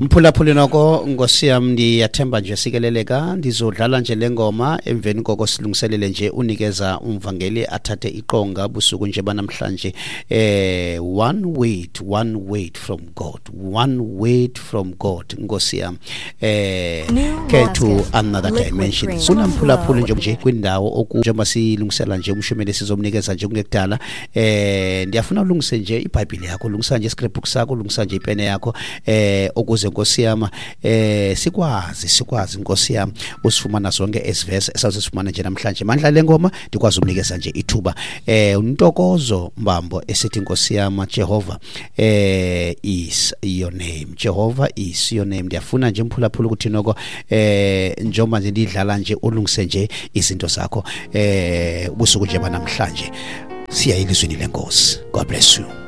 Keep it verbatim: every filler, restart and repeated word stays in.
Mphulaphuli noko Nkosi yam, ndiyathemba nje sikeleleka. Ndizodlala nje le ngoma, emveni koko silungiselele nje unikeza umvangeli athathe iqonga busuku nje banamhlanje. eh one word, one word from God, one word from God, Nkosi yam, eh get to another dimension. Sunamphulaphuli nje nje kwindawo oku njengoba silungisela nje umshumeli sizomnikeza nje kungekudala. eh ndiyafuna ulungise nje iBhayibhile yakho, lungisa nje iscript sakho, lungisa nje ipene yakho, eh ukuze Nkosi yam eh sikwazi sikwazi Nkosi yam usifumana zonke ezivesi esazifumana nje namhlanje. Mandla le ngoma ndikwazi umnikeza nje ithuba eh uNtokozo Mbambo esithi Nkosi yam, Jehovah eh is your name, Jehovah is your name. Ndiyafuna nje mphulaphula ukuthi noko eh njengoba nje ndidlala nje ulungise nje izinto zakho eh ubusuku nje banamhlanje siya elizwini leNkosi. God bless you.